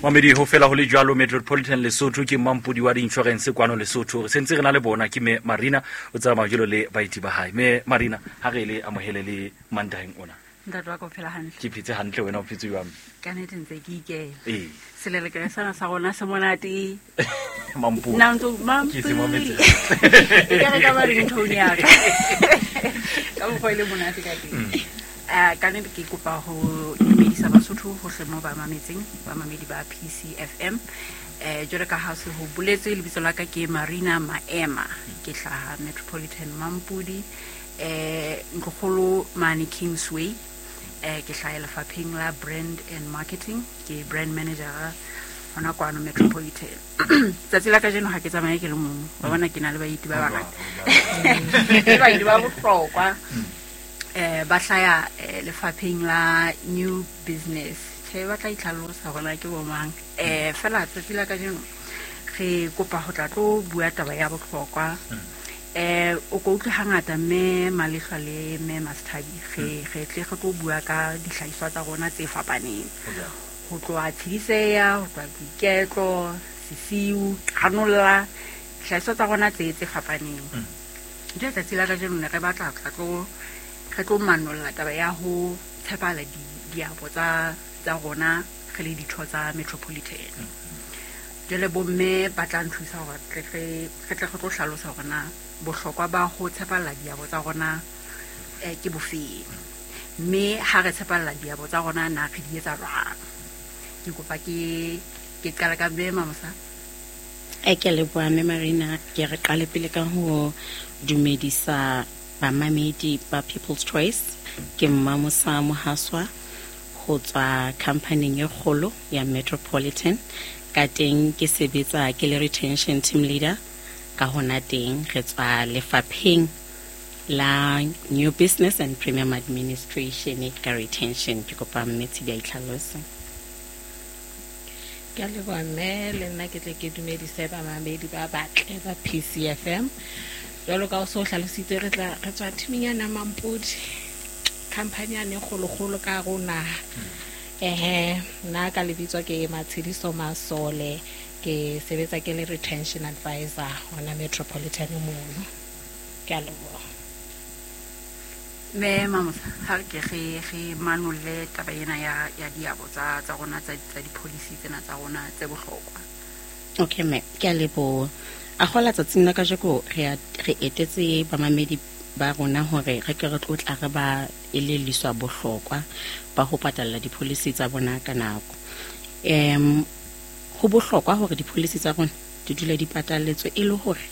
Mamedi, ho fela ho le jwalo. Metropolitan Lesotho ke mampodi wa di-insurance kwano Lesotho. Re sentse re na le bona, ke me Marina o tsamaya jalo le baeti ba hae. Me Marina, ha re le amohele le Mantaheng ona. Ntate wa ka, o phela hantle? Ke phetse hantle, wena o phetse jwang? Ka nnete ntse ke ikela. Ee. Selelekela sena sa rona se monate. Mampodi. Nna ntse Ke se mametse. E ka re ka ba ringtone ya ka ka mokgwa e le monate ka teng. Ka nnete ke kopa ho dumedisa Basotho hohle mo ba mametseng, bamamedi ba PCFM. Jwalo ka ha se ho boletswe, lebitso la ka ke Marina Maema, ke hlaha Metropolitan Mampodi, ntlokgolo mane Kingsway. Ke hlaha lefapheng la brand and marketing, ke brand manager hona kwano Metropolitan. Tsatsi la kajeno ha ke tsamaye ke le mong wa bona, ke na le baeti ba bangata, ke baeti ba bohlokwa. Ba hlaya lefapheng la new business. Tjhe, ba tla itlhalosa hore na ke bo mang. Fela tsatsi la kajeno re kopa ho tla tlo bua taba ya bohlokwa. O ko utlwe hangata mme Malehlwa le mme Masthabi re tle re tlo bua ka dihlahiswa tsa rona tse fapaneng, ho tloha Tshidiseya, ho tloha Boiketlo, Sesiu, Qanolla, dihlahiswa tsa rona tse fapaneng. Jwale tsatsi la kajeno ne re batla tla tlo re tlo manolla taba ya ho tshepahala diabo tsa rona re le ditho tsa Metropolitan. Jwale bomme ba tla nthusa hore re tle re tlo hlalosa hore na bohlokwa ba ho tshepalla diabo tsa rona ke bofeng, mme ha re tshepalla diabo tsa rona na re di etsa jwang. Ke kopa ke qala ka mme Mamosa. E ke leboha mme Marina. Ke re qale pele ka ho dumedisa bamamedi ba People's Choice. Ke Mmamosa Mohaswa ho tswa companyng e kgolo ya Metropolitan. Ka teng ke sebetsa ke le retention team leader. Ka hona teng re tswa lefapheng la new business and premium administration ka retention. Ke kopa mme Tshidi a itlhalose. Ke a leboha mme, le nna ke tle ke dumedise bamamedi ba batle ba PCFM. Jwalo ka o so hlalositse, re tla re tswa teaming ya Mampodi, company yane e kgolokgolo ka hare ho naha. Ehe, nna ka lebitso ke Matshediso Masole, ke sebetsa ke le retention advisor hona Metropolitan mono. Ke a leboha. Mme Mamosa, ha re ke re manolle taba ena ya diabo tsa rona tsa di-policy tsena tsa rona tse bohlokwa. Okay mme, ke a leboha. A kgola tsatsing la kajeko re etetse bamamedi ba rona hore re ke re tlo tla re ba elelliswa bohlokwa ba ho patalla di-policy tsa bona ka nako. Ho bohlokwa hore di-policy tsa rona di dule di patalletswe e le hore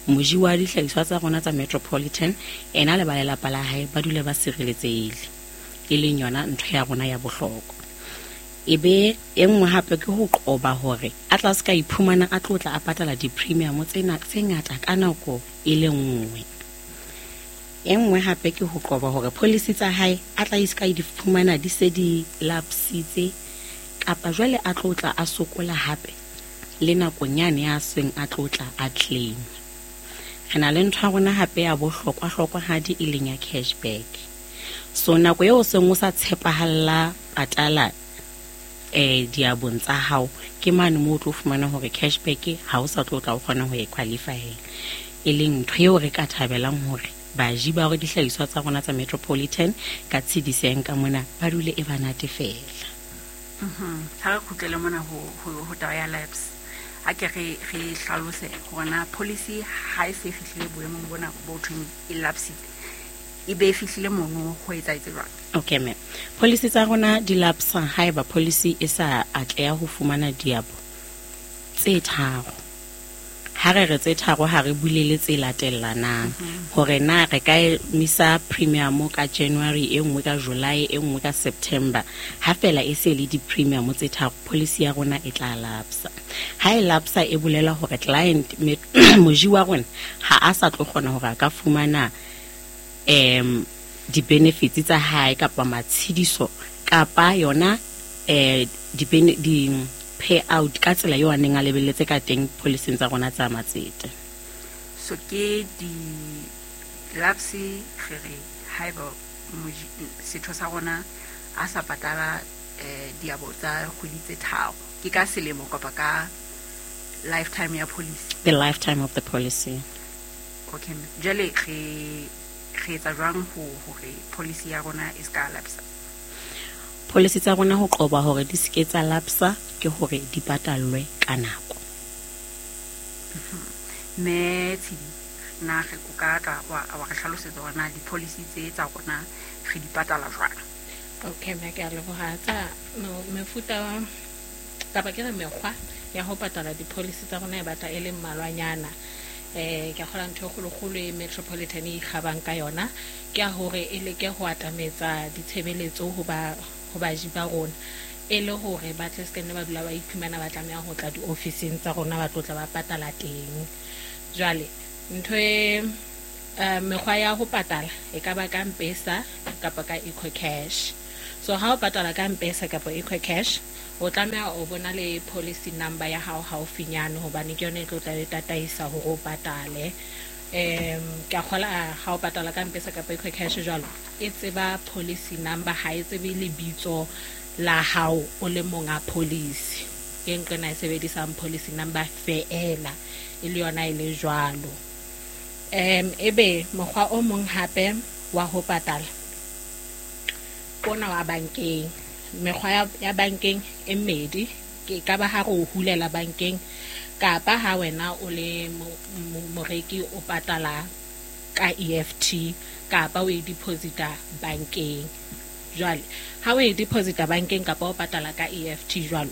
moji wa dihlahiswa tsa rona tsa Metropolitan ena le ba lelapa la hae ba dule ba sireletsehile, e leng yona ntho ya rona ya bohlokwa. E be e nngwe hape ke ho qoba hore a tla se ka iphumana a tlo tla a patala di-premium tsena tse ngata ka nako e le nngwe. E nngwe hape ke ho qoba hore policy tsa hae a tla se ka di fumana di se di lapsitse, kapa jwale a tlo tla a sokola hape le nakong yane ya seng a tlo tla a claim. Re na le ntho ya rona hape ya bohlokwa-hlokwahadi e leng ya cashback. So nako eo seng o sa tshepahalla patala diabong tsa hao, ke mane moo o tlo fumana hore cashback ha o sa tlo tla o kgona ho e qualify-ela, e leng ntho eo re ka thabelang hore baji ba hore dihlahiswa tsa rona tsa Metropolitan ka tshediseng ka mona ba dule e ba natefela. Ha re kgutlele mona ho taba ya lapse, ha ke re hlalose hore na policy ha e se e fihlile boemong bona bo thweng e lapsitse, e be e fihlile mono ho etsahetse jwang? Okay ma'am, policy tsa rona di lapsa haeba policy e sa atleha ho fumana diabo tse tharo. Ha re re tse tharo, ha re bulele tse latellanang, hore na re ka emisa premium ka January, e nngwe ka July, e nngwe ka September. Ha fela e se le di-premium tse tharo, policy ya rona e tla lapsa. Ha e lapsa e bolela hore client, moji wa rona ha a sa tlo kgona hore a ka fumana di-benefits tsa hae kapa matshediso kapa yona di payout ka tsela eo a neng a lebelletse ka teng policing tsa rona tsa matsete. So ke di-lapse re re haeba setho sa rona a sa patala diabo tsa kgwedi tse tharo. Ke ka selemo kapa ka lifetime ya policy? The lifetime of the policy. Okay, jwale re etsa jwang hore policy ya rona e ska lapsa? Policy tsa rona ho qoba hore di seke tsa lapsa ke hore di patallwe ka nako. Mme Tshidi, na re o ka tla wa re hlalosetsa hore na di-policy tse tsa rona re di patala jwang? Okay, mme ke a leboha. Tsa mefuta kapa ke re mekgwa ya ho patala di-policy tsa rona e batla e le mmalwanyana. Ke a kgola ntho e kgolokgolo e Metropolitan e ikgabang ka yona ke ya hore e leke ho atametsa ditshebeletso ho baji ba rona, e le hore ba tle se nne ba dula ba iphumana ba tlameha ho tla diofising tsa rona ba tlo tla ba patala teng. Jwale ntho e mekgwa ya ho patala e ka ba ka M-Pesa kapa ka EcoCash. So ha o patala ka M-Pesa kapa EcoCash, o tlameha o bona le policy number ya hao haufinyane, hobane ke yona e tlo tla e tataisa hore o patale. Ke a kgola ha o patala ka M-Pesa kapa EcoCash jwalo, e tseba policy number, ha e tsebe lebitso la hao o le monga policy. Ke nqena e sebedisang policy number feela, e le yona e le jwalo. Ebe mokgwa o mong hape wa ho patala ona wa bankeng. Mekgwa ya bankeng e mmedi, ke ka ba ha re o hulela bankeng kapa ha wena o le moreki o patala ka EFT kapa o e deposita bankeng. Jwale ha o e deposita bankeng kapa o patala ka EFT jwalo,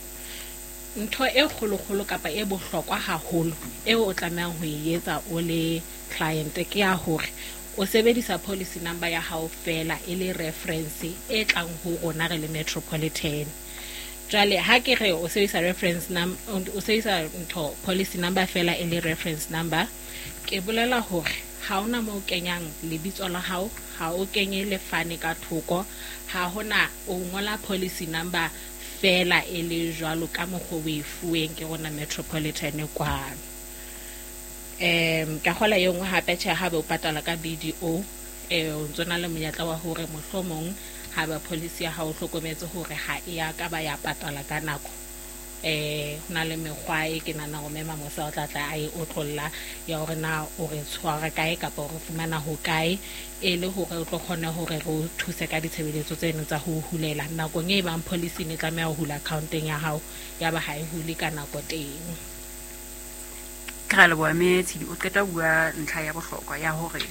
ntho e kgolokgolo kapa e bohlokwa haholo eo o tlamehang ho e etsa o le client ke ya hore o sebedisa policy number ya hao fela e le reference e tlang ho rona re le Metropolitan. Jwale ha ke re o sebedisa reference number, o sebedisa ntho policy number fela e le reference number, ke bolela hore ha ona moo kenyang lebitso la hao, ha o kenye lefane ka thoko, ha hona o ngola policy number fela e le jwalo ka mokgwa o e fuweng ke rona Metropolitan kwano. Ka kgola e nngwe hape tjhe, ha be o patala ka BDO, o ntso na le monyetla wa hore mohlomong ha ba policy ya hao o hlokometse hore ha e ya ka ba ya patala ka nako. Ho na le mekgwa e ke nahana hore Mme Mamosa o tla tla a e otlolla ya hore na o re tshwara kae kapa o re fumana ho kae, e le hore o tlo kgone hore re o thuse ka ditshebeletso tseno tsa ho hulela nakong e bang policy ne tlameha ho hula accounteng ya hao, ya ba ha e hule ka nako teng. Ke ra leboha Mme Tshidi, o qeta ho bua ntlha ya bohlokwa ya hore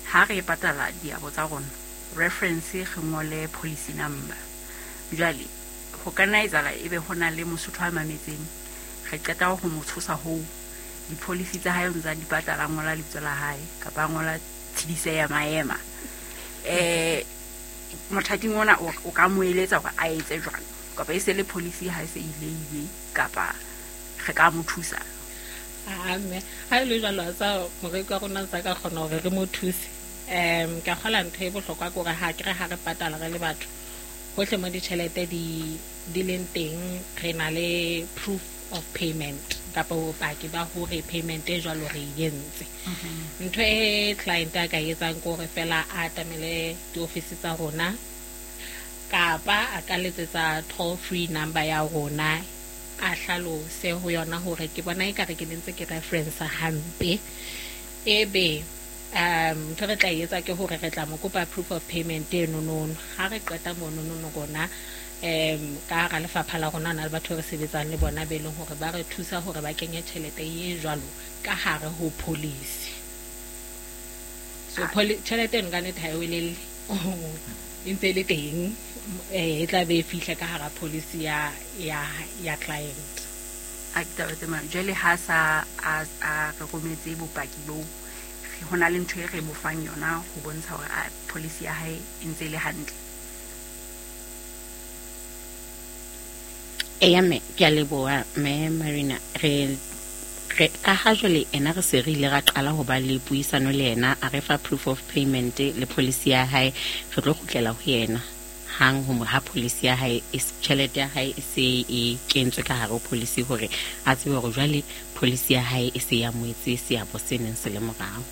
ha re patala diabo tsa rona, reference re ngole policy number. Jwale ho ka nna etsahala ebe ho na le Mosotho a mametseng, re qeta ho mo tshosa hoo, di-policy tsa hae o ntsa di patala, a ngola lebitso la hae kapa a ngola Tshidise ya Maema. Mothating ona o ka mo eletsa hore a etse jwang, kapa e se le policy ha e se ile ile, kapa re ka mo thusa? Mme ha e le jwalo tsa moreki wa rona tsa ka kgona hore re mo thuse. Ka kgola ntho e bohlokwa ke hore ha ke re ha re patala re le batho hohle mo ditjhelete di leng teng, re na le proof of payment kapa bopaki ba hore payment e jwalo re e entse. Ntho e client a ka etsang ke hore fela a atamele diofisi tsa rona kapa a ka letsetsa toll free number ya rona, a hlalose ho yona hore ke bona ekare ke ne ntse ke reference hampe. Ebe ntho re tla etsa ke hore re tla mo kopa proof of payment eno nono. Ha re qeta mono nono rona, ka hara lefapha la rona na le batho re sebetsang le bona be leng hore ba re thusa hore ba kenye tjhelete e jwalo ka hare ho policy. So tjhelete eno ka nnete ha e welelle, e ntse e le teng, e tla be e fihla ka hara policy ya client. A ke taba tse mang. Jwale ha sa a re rometse bopaki boo, ho na le ntho e re mo fang yona ho bontsha hore a policy ya hae e ntse e le hantle. Eya mme, ke a leboha mme Marina. Re ka ha jwale ena re se re ile ra qala ho ba le puisano le yena, a re fa proof of payment le policy ya hae, re tlo kgutlela ho yena hang ho ha policy ya hae, tjhelete ya hae e se e kentswe ka hare ho policy, hore a tsebe hore jwale policy ya hae e se ya moetse seabo se neng se le morao.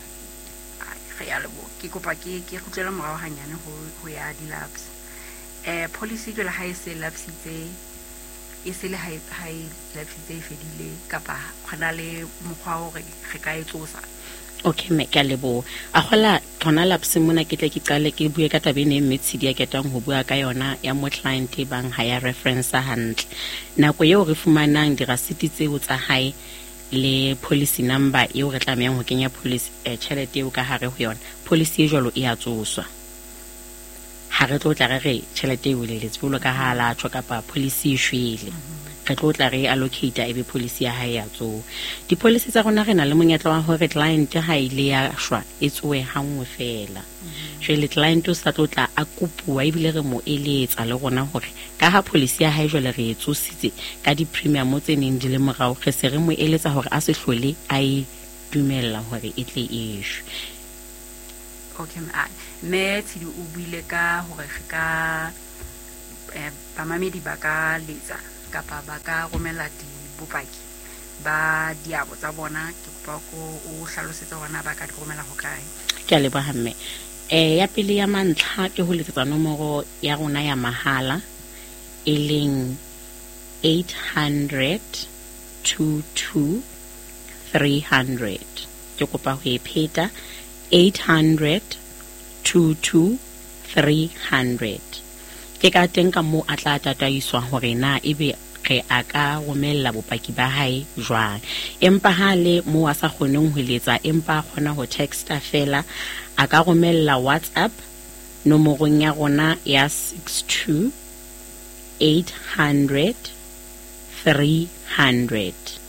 Re a leboha. Ke kopa ke kgutlele morao hanyane ho ya di-lapse. Policy jwale ha e se lapsitse, e se le ha e lapsitse e fedile, kapa gona le mokgwa wa hore re ka e tsosa? Okay mme, ke a leboha. A kgola hona lapse mona, ke tle ke qale ke bue ka taba ena e mme Tshidi a ketang ho bua ka yona ya mo client e bang ha ya reference hantle. Nako eo re fumanang dirasiti tseo tsa hae le policy number eo re tlamehang ho kenya policy tjhelete eo ka hare ho yona, policy e jwalo e a tsoswa. Ha re tlo tla re re tjhelete e weleletse jwalo ka ha la tjho kapa policy e shwele, re tlo tla re allocate ebe policy ya hae ya tsoha. Di-policy tsa rona re na le monyetla wa hore client ha ile ya shwa e tsohe hanngwe feela. Jwale client o sa tlo tla a kopuwa, ebile re mo eletsa le rona hore ka ha policy ya hae jwale re e tsositse ka di-premium tse neng di le morao, re se re mo eletsa hore a se hlole a e dumella hore e tle e shwe. Okay, mme Tshidi o buile ka hore re ka bamamedi ba ka letsa kapa ba ka romela dibopaki ba diabo tsa bona. Ke kopa ko o hlalosetse hore na ba ka di romela ho kae. Ke a leboha mme. Ya pele ya mantlha ke ho letsetsa nomoro ya rona ya mahala e leng 800 22 300. Ke kopa ho e pheta, 800 22 300. Ke ka teng ka moo a tla tataiswa hore na ebe re a ka romella bopaki ba hae jwang. Empa ha le moo a sa kgoneng ho letsa empa a kgona ho texta fela, a ka romella WhatsApp nomorong ya rona ya 62 800 300,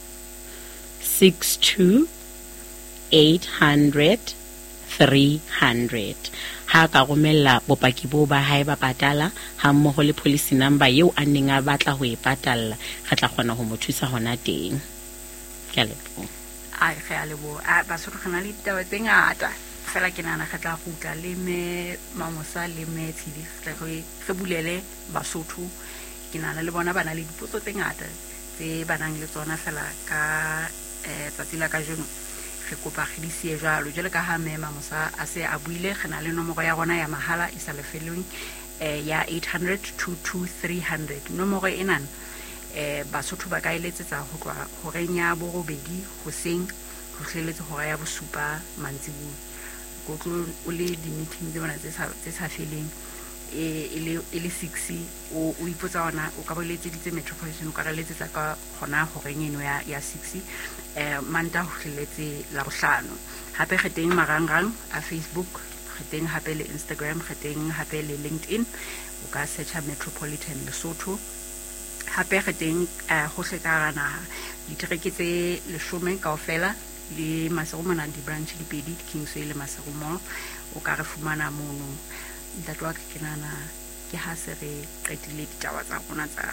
62 800 300. Ha ka romella bopaki boo ba hae ba patala ha mmoho le policy number eo a neng a batla ho e patalla, re tla kgona ho mo thusa hona teng. Ke a leboha. Ai, re a leboha. A Basotho, re na le ditaba tse ngata fela, ke nahana re tla kgutla le mme Mamosa le mme Tshidi, re tle re bulele Basotho. Ke nahana le bona ba na le dipotso tse ngata tse ba nang le tsona fela ka tsatsi la kajeno re kopa re di siye jwalo. Jwale ka ha mme Mamosa a se a buile, re na le nomoro ya rona ya mahala e sa lefellweng ya 800 22 300. Nomoro enana Basotho ba ka e letsetsa ho tloha horeng ya 8 hoseng ho fihlelletse hora ya 7 mantsibuya. Ko tlo o le di-meeting tse bona tse sa feleng, e le 6, o ipotsa hona o ka ba o letseditse Metropolitan, o ka re letsetsa ka hona horeng eno ya 6, Mantaha ho fihlelletse Labohlano. Hape re teng marangrang a Facebook, re teng hape le Instagram, re teng hape le LinkedIn, o ka searcha Metropolitan Lesotho. Hape re teng hohle ka hara naha, ditereke tse 10 kaofela le Maseru mona di-branch di pedi, Kingsway le Maseru Mall, o ka re fumana mono. Ntate wa ka, ke nahana ke ha se re qetile ditaba tsa rona tsa